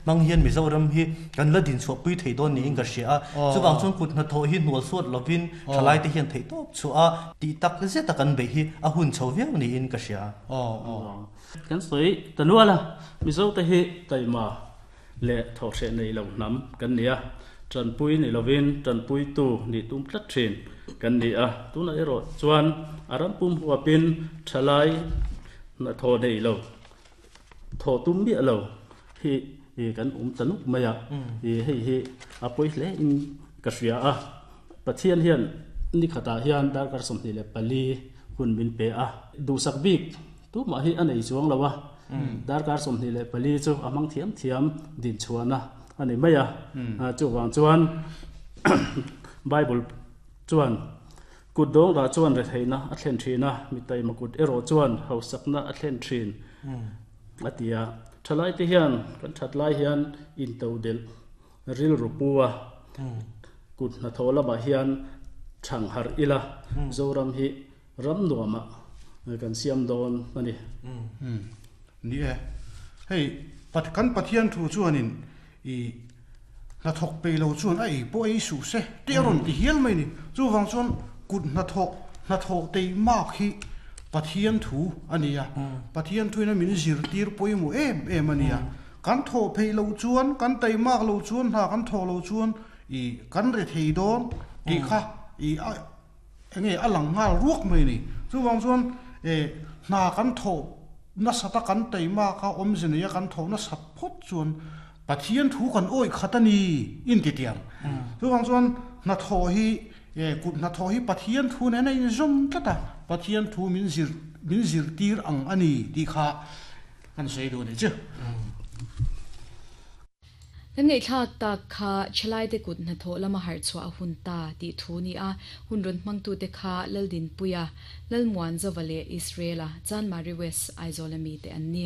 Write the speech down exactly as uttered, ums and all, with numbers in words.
Mang hian Mizoram hi kan la din chhuah pui thei dawn niin ka hria a. Chuvang chuan kut hnathawh hi hnual suat lovin thalai te hian theih tawp chhuah a tih tak zeta kan beih hi a hun chho viau niin ka hria. Kan sawi ta nual a, Mizo te hi taima leh thawhhreh nei lo hnam kan ni a, tanpui ni lovin tanpuitu nih tum tlat thin kan ni a. Tunah erawh chuan a ram pum huapin thalai hnathawh nei lo, thawh tum miah lo hi kan awm ta nuk mai a. Hei hi a pawi hle in ka hria a. Pathian hian ni khatah hian darkar sawmhnih leh pali hun min pe a. Duhsak bik tumah hi a nei chuang lo a. Darkar sawmhnih leh pali chu a hmang thiam thiam din chhuahna a ni mai a. Chuvang chuan Bible chuan kut dawng rah chuan retheihna a thlen thin a, mi taima kut erawh chuan hausakna a thlen thin a ti a. Thalai te hian kan that lai hian into del rilru pu a, kut hnathawh lamah hian thang harh ila, Zoram hi ram nuamah kan siam dawn a ni. Ni e, hei kan Pathian thu chuanin i hnathawk pe lo chuan a ei pawh ei suh se te a rawn ti hial mai ni. Chuvang chuan kut hnathawk hnathawh tei mak hi Pathian thu a ni a. Pathian thuin a min zirtir pawimawh em em a ni a. Kan thawh phei lo chuan, kan tei mak lo chuan, hna kan thawh lo chuan i kan re thei dawn tih kha i enge a lang nghal ruak mai ni. Chuvang chuan e hna kan thawh nasata kan tei mak a awmze nei a kan thawh nasat phawt chuan Pathian thu kan awi khat a ni in ti tiang. Chuvang chuan hnathawh hi e kut hnathawh hi Pathian thu nen a inzawm tlat a, Pathian thu min zir min zirtir ang a ni tih kha kan sawi duh ni chu. Kan ngaihthlak tak kha thalai te kut hnathawh lama harh chhuah a hun ta tih thu ni a, hun rawn hmangtu te kha Laldinpuia, Lalmuan Zova leh Israela, Chanmari West, Aizawl ami te an ni.